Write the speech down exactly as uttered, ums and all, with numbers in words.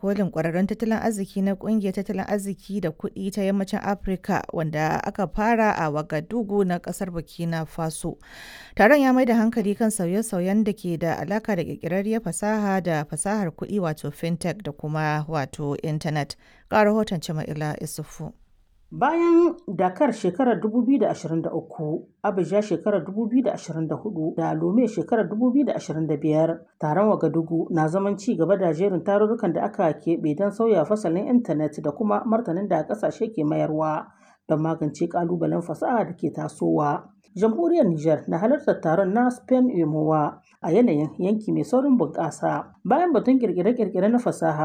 kolin kwararrun tattalin arziki na kungiyar tattalin arziki da kuɗi ta yammacin Afirka wanda aka fara a Wagadugu na ƙasar Burkina Faso. Taron ya mai da hankali kan sauye-sauyen da ke da alaka da ƙirƙirarriyar fasaha da fasahar kuɗi wato fintech da kuma wato intanet. Ga rahoton Jama'ila Isufu. Bayan Dakar shekarar dubu biyu da ashirin da uku, Abuja shekarar dubu biyu da ashirin da huɗu da Lome shekarar dubu biyu da ashirin da biyar, taron Wagadugu na zaman ci gaba da jerin tarurrukan da aka keɓe don sauya fasalin intanet da kuma martanin da ƙasashe ke mayarwa don magance ƙalubalen fasaha da ke tasowa. Jamhuriyar Nijar na halartar taron na Spain UEMOA a yanayin yanki mai saurin bunƙasa. Bayan batun ƙirƙire-ƙirƙire na fasaha